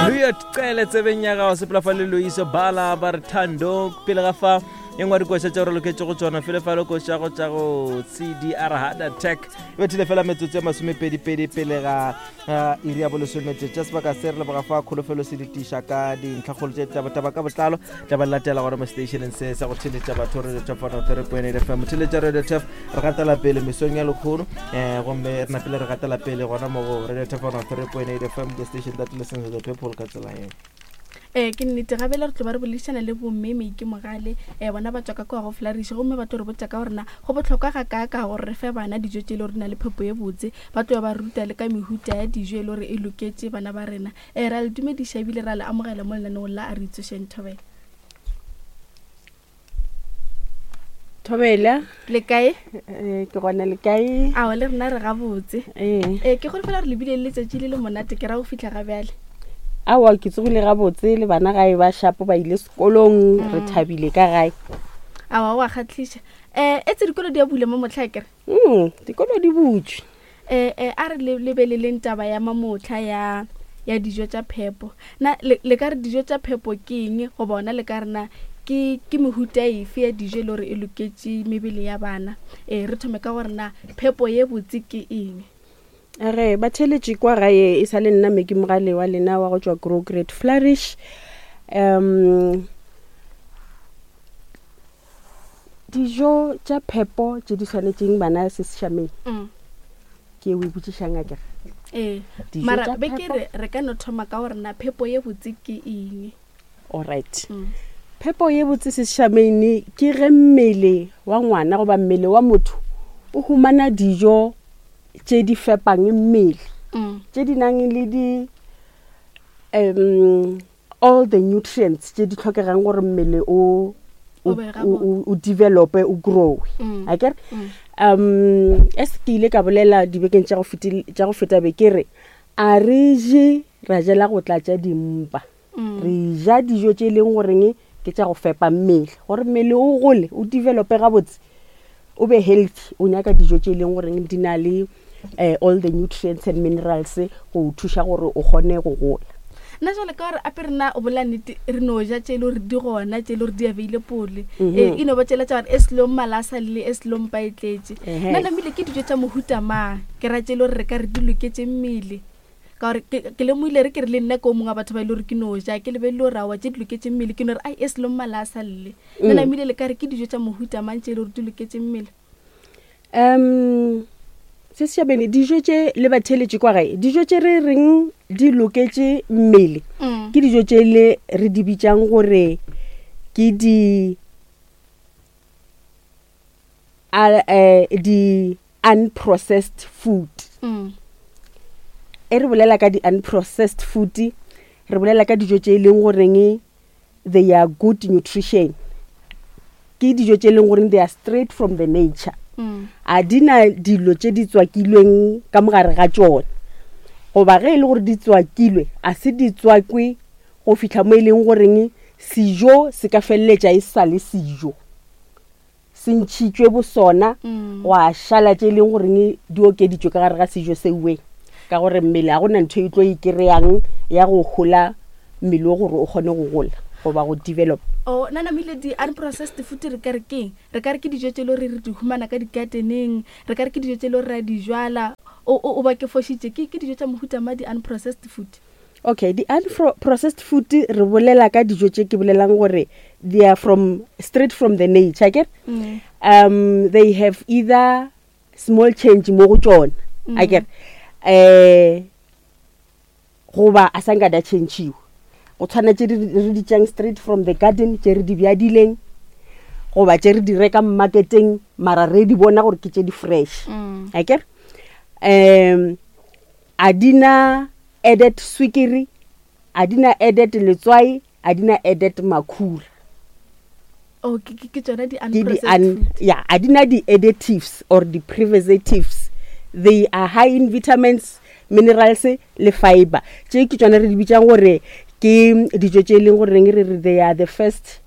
Luyot Cele tsebeng ya gago sepela fa le Loiso Bala ba re Thando pele ga fa e nngwe dikoša tša gore loketše go tsona fele fa le koša go tša go CDR Heart Attack e bethile fela metsotso ya masomepedipedi pele ga iri ya bolesomete tša sebaka se re leboga fa kholofelo se ditiša ka dintlhakgolo tše tabataba ka botlalo tla ba latela gona mo stationeng se sa go theletša batho radio top 103.8 fm theletša radio tef re gatela pele mesong ya lekgono um gomme re napile re gatela pele gona mo go radio top 103.8 fm the station that listens to the people ka tsela eo ee ke nnete gabele re tlo ba re boledišana le bomme meike mogale um bona ba tswa ka kua go flariše gomme ba tlo re botša ka gorena go bohlokwa ga kaaka gore re fe bana dijo tše e le gore di na le phepo ye botse ba tlo ba ruta le ka mehuta ya dijo e le gore e loketše bana ba rena um ra le dumediša ebile ra le amogela mo lenaneong la a re itsošeng thobela Thobela. Le kae? Eh, ke gona le kae? Awa le rena re gabotse. Eh. Eh, ke golofela re lebile le letšatši le le monate ke ra go fihla ga bjale. Awa ke tsogile gabotse le bana gae ba shapo ba ile sekolong re thabile ka gae. Awa wa kgatlhiša. Eh, etse dikolo di a bula mo motlha kere? Mm, dikolo di butšwe. Eh, eh, a re lebeleleng taba ya mamotlha ya ya dijo tša phepo. Na le, le ka re dijo tša phepo ke eng goba ona le ka re na ke ke mehuta efe ya dijo e le gore e loketše mebele ya bana? Eh, re thome ka gore na phepo ye botse ke eng? Re batheeletši kwa gae e sa le nna Meki Mogale wa lena wa go tšwa Grow Great Flourish. Um Dijo tša phepo tše di swanetšeng bana se sešameng mm. ke o e botšišang a kere ee mara be ke re re ka no thoma ka gore na phepo ye botse ke eng alright mm. phepo ye botse se sešameng ke ge mmele wa ngwana goba mmele wa motho o humana dijo tše di fepang mmele mm. tše di nang le di um all the nutrients tše di tlhokegang gore mmele o o develope o growe mm. a kere mm. um as ke ile ka bolela dibekeng tša go feta be ke re a re je ra jela go tlatša dimpa mm. re ja dijo tše e leng goreng ke tša go fepa mmele gore mmele o gole o develope gabotse o be healthy o nyaka dijo tše e leng goreng di na le um all the nutrients and minerals go o thuša gore o kgone go gola nna jale ka gore ape rena o bolela nnete re no ja tše e le gore di gona tše e le gore di available Mhm. ee e no ba tšela tša gore e selong mala a sa lele e selong pa e tletše Ehe. nna namile ke dijo tša mohuta mang ke ra tše e le gore re ka re di loketše mmele ka gore ke ke lemogile re ke re le nna ke o mongwe wa batho ba e le gore ke no ja ke lebelele gore aowa tše di loketše mmele ke no re ai e selong mala a sa lle nna namile le ka re ke dijo tša mohuta mang tše e le gore di loketše mmele Um se sešabene dijo tše le batheeletše kwa gae dijo tše re reng di loketše mmele Mm. ke dijo tše le re di bitšang gore ke di a, eh, di unprocessed food Mm. e re bolela ka di unprocessed food re bolela ka dijo tše e leng goreng they are good nutrition ke dijo tše e leng goreng they are straight from the nature Mm. a di na dilo tše di tswakilweng ka mogare ga tšona goba ge e le gore di tswakilwe a se di tswakwe go fihla mo e leng goreng sejo se ka feleletša e sa le sejo se ntšhitšwe bosona Mm. gwa šala tše e leng goreng di okeditšwe ka gare ga sejo seuwe ka gore mmele ga gona ntho e tlo e kry-ang ya go hola mmele o gore o kgone go gola goba go develop o nna namile di-unprocessed food re ka re keng re ka re ke dijo tše e le gore re di humana ka di-gardeneng re ka re ke dijo tše e le gore re a di jwala o o- o ba ke fošitše ke ke dijo tša mohuta ma di-unprocessed food okay di-unprocessed food re bolela ka dijo tše ke bolelang gore they are from straight from the nature akere Mm. um they have either small change mo go tšona Mm. akere um goba a sa nka da changiwa go tshwana tše re di tšang straight from the garden tše re di bjadileng goba tše re di rekang marketeng mara re di bona gore ke tše di fresh Mm. akere um a di na added swikiri a di na added letswai a di na added makhura oh ke ke- ke tšona ke di di-unprocessed un, food yeah a di na di-additives or di-preservatives they are high in vitamins minerals le fiber tše ke tšona re di bitšang gore ke dijo tše e leng goreng re re they are the first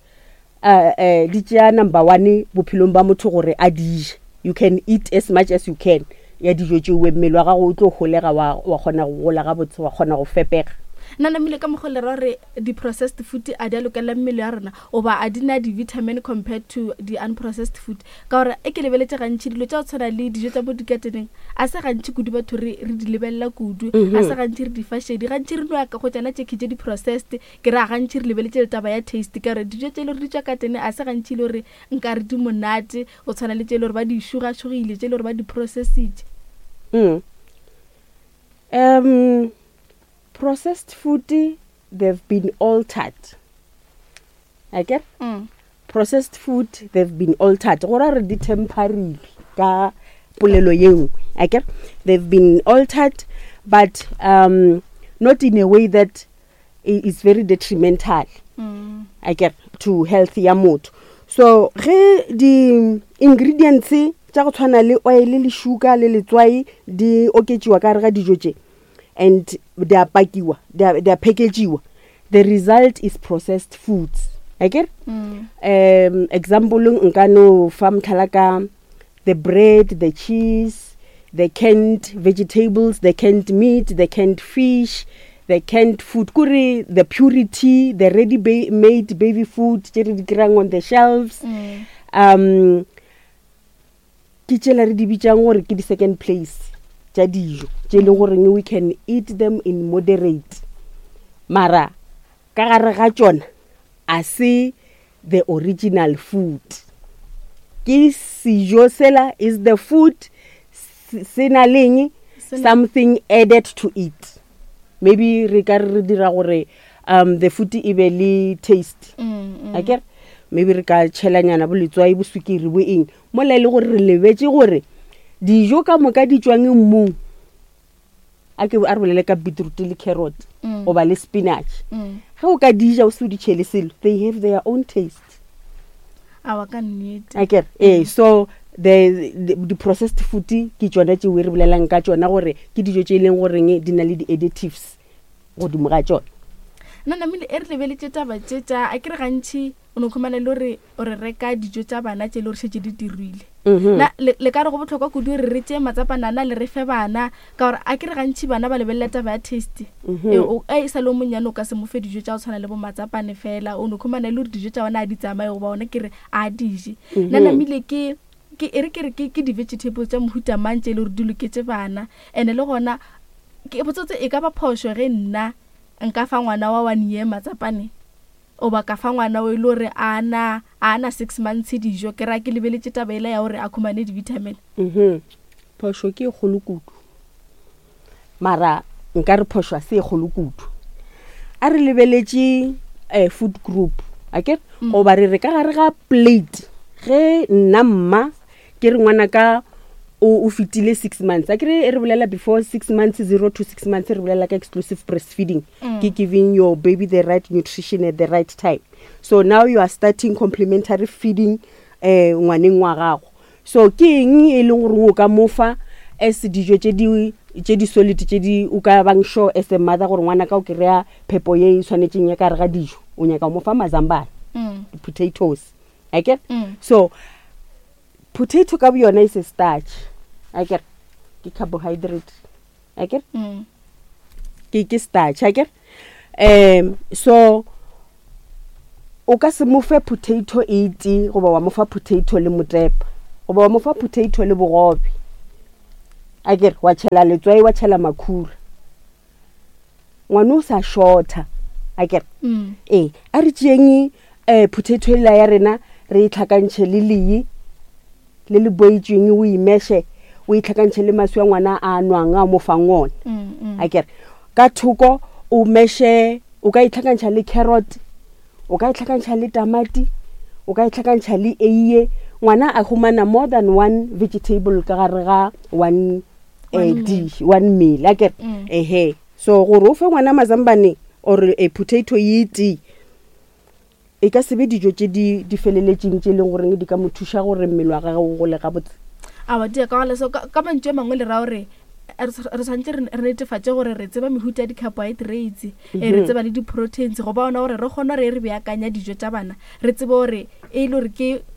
uh, uh, di tšea number one bophelong ba motho gore a di je you can eat as much as you can ya dijo tšeoe mmele wa gago o tlo holega wa, wa kgona go gola gabotse wa kgona go fepega. Nna namile ka mokgwa le ra gore di-processed food a di a lokela mmele ya rena oba a di na di-vitamin compared to di-unprocessed food, ka gore e ke lebeletše gantši dilo tša go tshwana le dijo tša mo dikateneng a se gantši kudu batho re re di lebelela kudu, a se gantši re di fa šedi, gantši re no ya ka go tšana tše tše di-processed. Ke ra gantši re lebeletše le taba ya taste, ka gore dijo tše le gore di tšwa katene a se gantši le gore nka re di monate go tshwana le tše le gore ba di šugašugile, tše le gore ba di processitše. Processed food, they've been altered. Akere? Processed food, they've been altered. Go ra re di temperile ka polelo ye nngwe. Akere? They've been altered, but not in a way that is very detrimental. Akere? To health ya motho. So ge di ingredients tša go tshwana le oil le sugar le letswai di oketšiwa ka gare ga dijo tše, and di a pakiwa, di a packageiwa, the result is processed foods. Akere? Example nka no fa mohlala ka the bread, the cheese, the canned vegetables, the canned meat, the canned fish, the canned food, kore the purity, the ready made baby food tše re di kry-ang on the shelves. Ke tšela re di bitšang gore ke di-second place tša dijo tše e leng goreng we can eat them in moderate, mara ka gare ga tšona a se the original food. Ke sejo sela is the food se na leng something added to it. Maybe re ka re dira gore the food e be le taste. Akere? Maybe re ka tšhelanyana bo letswai, bo sukiri, bo eng. Mola e le gore re lebetše gore dijo ka moka di tšwang mmung. A ke a re bolele ka beetroot le carrot goba le spinach. Ge o ka di ja o se o di tšhele selo, they have their own taste. Awa, ka nnete. Akere? So the processed food ke tšona tšeo re bolelang ka tšona gore ke dijo tše e leng goreng di na le di-additives godimo ga tšona. Nna namile e re lebeletše taba tše tša a ke re gantši o no khumana le gore o re reka dijo tša bana tše le gore šetše di dirile. Na le ka re go bohlokwa kudu re re tšee matsapanana le re fe bana, ka gore a ke re gantši bana ba lebelela taba ya taste. E sa le o monnyane o ka se mo fe dijo tša go tshwana le bo matsapane fela, o no khumana le gore dijo tša bona a di tsamaye goba ona ke re a di je. Nna namile ke ke e re ke re ke di-vegetables tša mohuta mang tše e le gore di loketše bana, and-e le gona ke botsotse e ka ba phošo ge nna nka fa ngwana wa 1 year matsapane oba ka fa ngwana o e le gore a na 6 months dijo, ke ra ke lebeletše taba ela ya gore a khumane di-vitamin. Phošo ke e kgolo kudu, mara nka re phošo a se e kgolo kudu. A re lebeletše food group, akere? Goba re re ka gare ga plate, ge nna mma ke re ngwana ka o fetile 6 months, akere e re bolela before 6 months, 0 to 6 months, re bolela ka exclusive breastfeeding. Ke giving your baby the right nutrition at the right time. So now you are starting complementary feeding ngwaneng wa gago. So ke eng e leng gore o ka mofa as dijo tše di tše di solid tše di o ka bang sure as a mother gore ngwana ka o kry-a phepo ye e swanetšeng ya ka gare ga dijo, o nyaka go mofa mazambane, potatoes, akere? So potato ka boyona is a starch, akere? Ke carbohydrate, akere? Ke starch, akere? So o ka se mo fe potato e tee goba wa mo fa potato le motepa goba wa mo fa potato le bogobe, akere? Wa tšhela letswai, wa tšhela makhura, ngwana o sa shorta, akere? A re tšeeng potato ela ya rena re e tlhakantšhe le lee le le boetšweng, o imeshe, o e tlhakantšhe le maswi a ngwana a nwang a mo fang ona, akere? Ka thoko o meshe, o ka e tlhakantšha le carrot, o ka e tlhakantšha le tamati, o ka e tlhakantšha le eiye. Ngwana a humana more than one vegetable ka gare ga one, One meal. dish, one meal, akere? Ehe. So gore o fe ngwana mazambane or a potato ye tee, e ka se be dijo tše di feleletšeng tše e leng goreng di ka mo thuša gore mmele wa gagwe o gole gabotse. Aowa, di ya ka gona. So ka mantšu a mangwe le ra gore re tshwanetse re netefatše gore re tseba mehuta ya di-carbohydrates, re tseba le di-proteins, go ba ona gore re kgone gore re beakanya dijo tša bana, re tsebe gore e le gore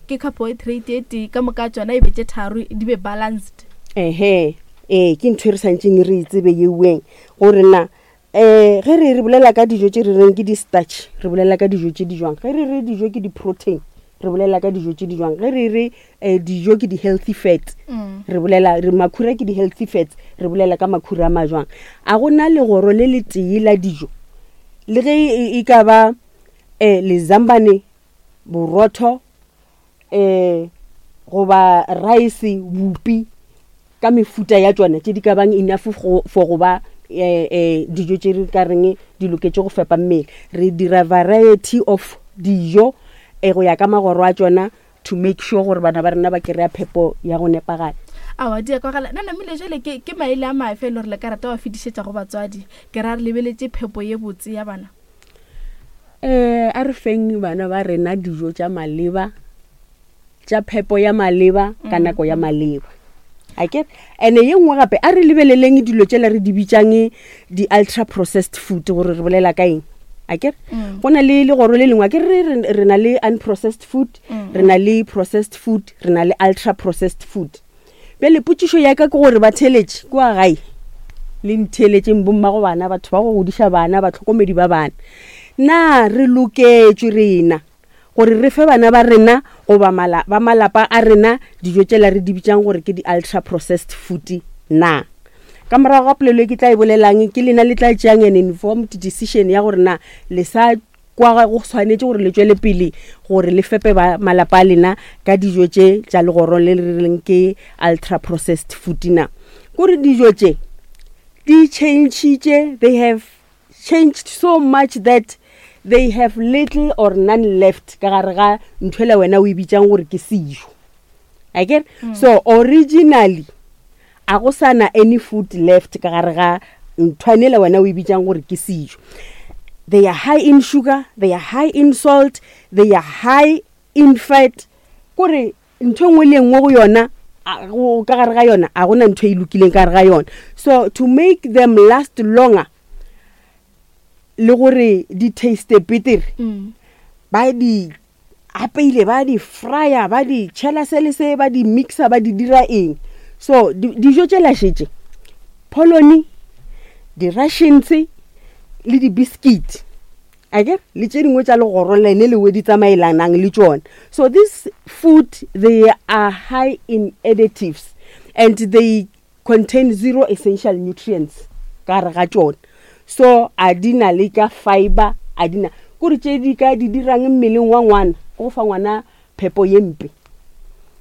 ke carbohydrate e tee ka moka tšona e be tše tharo, di be balanced. Ehe, ee, ke ntho e re santšeng re e tsebe yeweng gore na Um ge re re bolela ka dijo tše re reng ke di-starch, re bolela ka dijo tše di jwang? Ge re re dijo ke di-protein, re bolela ka dijo tše di jwang? Ge re re um dijo ke di-healthy fats, mm. re bolela re makhura ke di-healthy fats, re bolela ka makhura a majwang? A gona legoro le le tee la dijo, le ge e, e ka ba um lezambane, borotho, um goba rice, bupi ka mefuta ya tšona tše di ka bang enough for go ba um um dijo tše re ka reng di loketše go fepa mmele. Re dira variety of dijo um go ya ka magoro a tšona to make sure gore bana ba rena ba kry-a phepo ya go nepagala. Aowa, di a kwagala. Na namile jale ke, ke maele a mafe e le gore le ka rata wa fetišetša go batswadi? Ke ra re lebeletše phepo ye botse ya bana. Um a re feng bana ba rena dijo tša maleba, tša phepo ya maleba ka mm. nako ya maleba. Ake ene ye nngwe gape a re lebeleleng dilo tšela re di bitšang di-ultra processed food gore re bolela ka eng. Ake mm. go na le legoro le lengwe, ake re re na le unprocessed food, mm. re na le processed food, re na le ultra processed food. Bjale potšišo ya ka ke gore batheeletši kua gae le ntheeletšeng, bommago bana, batho ba go godiša bana, bahlokomedi ba bana, na re loketšwe rena gore re fe bana ba rena goba mala, ba malapa a rena dijo tšela re di bitšang gore ke di-ultra processed food na? Ka morago ga polelo e ke tla e bolelang, ke lena le tla tšeang an informed decision ya gore na le sa Kwa go swanetše gore le tšwele pele gore le fepe ba malapa a lena ka dijo tše tša legoro le le reng ke ultra processed food na. Kore dijo tše di changitše, they have changed so much that they have little or none left ka gare ga nthwela wena o e bitsang gore ke sejo. Akere? Mm. So originally a go sa na any food left ka gare ga nthwanela wena o e bitsang gore ke sejo. They are high in sugar, they are high in salt, they are high in fat. Kore ntho e nngwe le e nngwe go yona ka gare ga yona a gona ntho e lokileng ka gare ga yona. So to make them last longer le gore di taste betere mm. ba di apeile ba di fryer ba di tšhela se le se ba di mixer ba di dira eng so dijo tše lašetše polony di-russians le di-biscuit ake le tše dingwe tša legoro lene lewe di tsamaelanang le tšona so this food they are high in additives and they contain zero essential nutrients ka gare ga tšona so a di na le ka fiber a di na kore tše di ka di dirang mmeleng wa ngwana ke go fa ngwana phepo ye mpe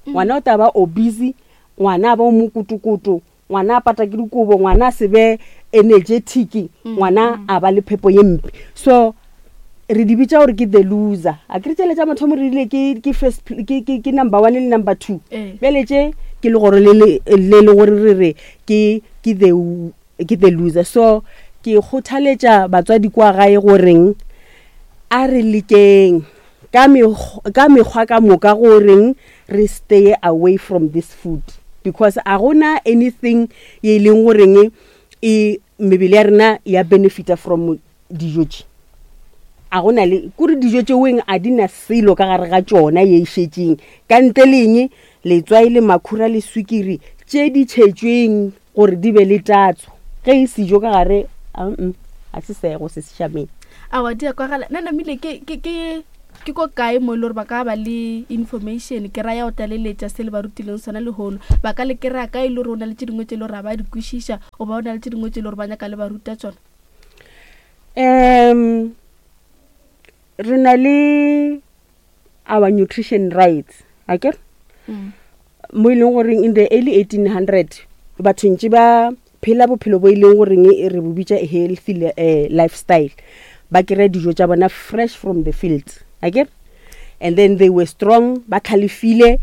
mm. ngwana o tla ba obese ngwana a ba o mokotokoto ngwana a pata ke dikobo ngwana a se be energetic mm, ngwana mm. a ba le phepo ye mpe so re di bitša gore ke the loser a kere tšele tša mathomo re rile ke ke first ke ke ke number one le number two eh. bjale tše ke le gore le le le gore re re ke ke the ke the loser so ke kgothaletša batswadi kwa gae goreng a re lekeng ka ka mekgwa ka moka goreng re stay away from this food because a gona anything ye e leng goreng e mebele ya rena ya benefita from dijo tše a go na le kore dijo tšeweng a di na selo ka gare ga tšona ye e šetšeng ka ntle le eng letswai le makhura le swikiri tše di tšhetšweng gore di be le tatso ge e sejo ka gare a se sego se sešameng awa di a kwagala nna namile ke ke ke ke ko kae mo e le gore ba ka ba le information ke raya o tlaleletša se le ba rutileng sona lehono ba ka le kry-a kae e le gore o na le tše dingwe tše e le gore ga ba di kwešiša goba o na le tše dingwe tše e le gore ba nyaka le ba ruta tsona Um re na le our nutrition rights akere mm. mo e leng goreng in the early 1800 batho ntse ba phela bophelo bo e leng goreng re bo bitša healthy eh, lifestyle ba kry-a dijo tša bona fresh from the fields akere and then they were strong ba tlhalefile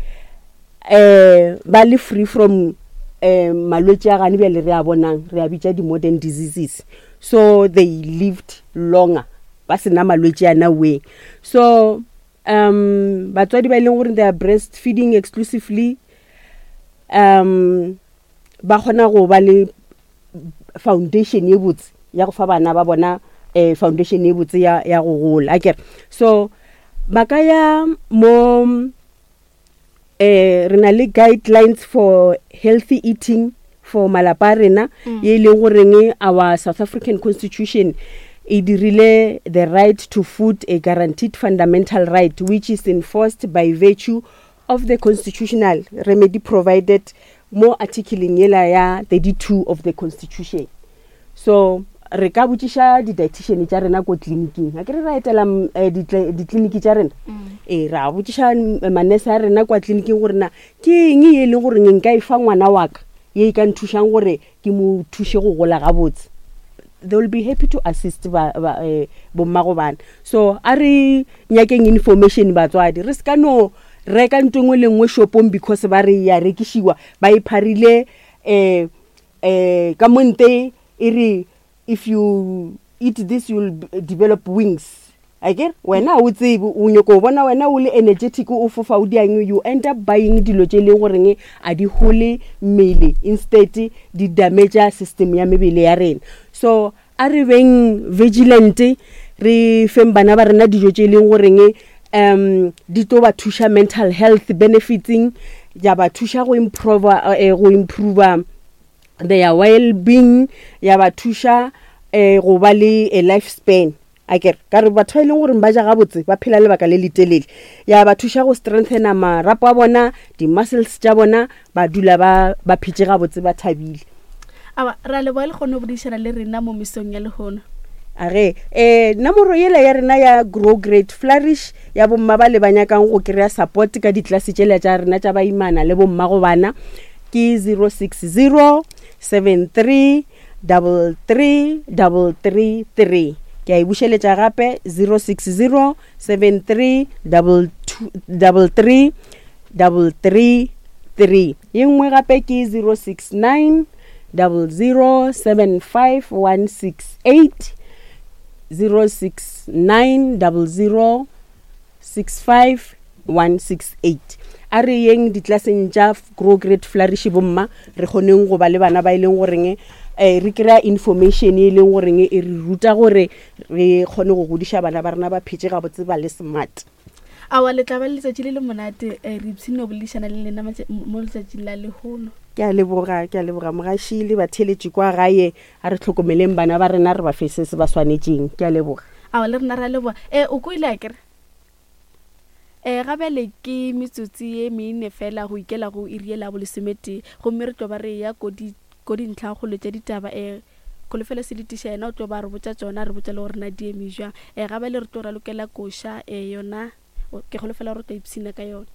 um ba le free from um malwetse a gane bjale re a bonang re a bitša di-modern diseases so they lived longer ba sena malwetse ana weng so um batswadi ba e leng gore they are breastfeeding exclusively um ba kgona go ba le foundation ye botse ya go fa bana ba bona um foundation ye botse ya, ya go gola akere so ba ka ya mo eh re na le guidelines for healthy eating. for malapa a rena ye e leng goreng our South African Constitution e dirile the right to food a guaranteed fundamental right which is enforced by virtue of the constitutional remedy provided mo articleng yela ya 32 of the constitution. So re ka botšiša di-dietitian tša rena ko tleliniking, a ke re ra etela ditleliniki tša rena, ee ra botšiša manese a rena kwa tleliniking gore na ke eng ye e leng gore nka e fa ngwana wa ka ye e ka nthušang gore ke mo thuše go gola gabotse. They will be happy to assist ba, ba, bommago bana. So a re nyakeng information batswadi, re se ka no reka nto engwe le nngwe shopong because ba re ya rekišiwa, ba e pharile ka mo nte e re if you eat this you'll develop wings. Akere wena ga o tsebe, o nyoko bona wena o le energetic o fofa o diang, you end up buying dilo tše e leng goreng a di hole mmele, instead di damage system ya mebele ya rena. So a re beng vigilant, re feng bana ba rena dijo tše e leng goreng di tlo ba thuša mental health benefitseng, ya ba thuša go improve, go improve their well being, ya ba thuša go ba le a life span. Akere ka re batho ba e leng gore ba ja gabotse ba phela lebaka le letelele, ya ba thuša go strengthena marapo a bona, di-muscles tša bona, ba dula ba ba phetše gabotse ba thabile. Awa, ra leboga le kgone go boledišana le rena mo mesong ya lehono. A ge nomoro yela ya rena ya Grow Great Flourish ya bomma ba le ba nyakang go kry-a support ka ditlelase tšela tša rena tša baimana le bommago bana ke 060 73 33 33 3. Ke a e bušeletša gape 060 73 33 33 3. Ye nngwe gape ke 069 00 75 168, 069 00 65 168. A re yeng ditlelaseng tša Grow Great Flourish bomma, re kgoneng go ba le bana ba e leng goreng re kry-a information e leng goreng e re ruta gore re kgone go godiša bana ba rena ba phetše gabotse ba le smart. Aowa, le tla ba le letšatši le le monate. Re ipshinne go boledišana le lena mo letšatšing la lehono. Ke a leboga, ke a leboga mogaši le batheeletši kwa gae. A re hlokomeleng bana ba rena, re ba fe se se ba swanetšeng. Ke a leboga. Aowa, le rena re a leboga. E, o kwele akere? E, ga bjale ke metsotsi ye mene fela go ikela go iri yela ya bolesometee, gomme re tlo ba re eya ko di, ko dintlhakgolo tša ditaba. E, Kholofelo Seletiša yena o tlo ba a re botša tšona, a re botša le gore na di eme bjang. E, ga bjale re tlo ralokela koša, e, yona, ke holofela gore o tla ipshina ka yona.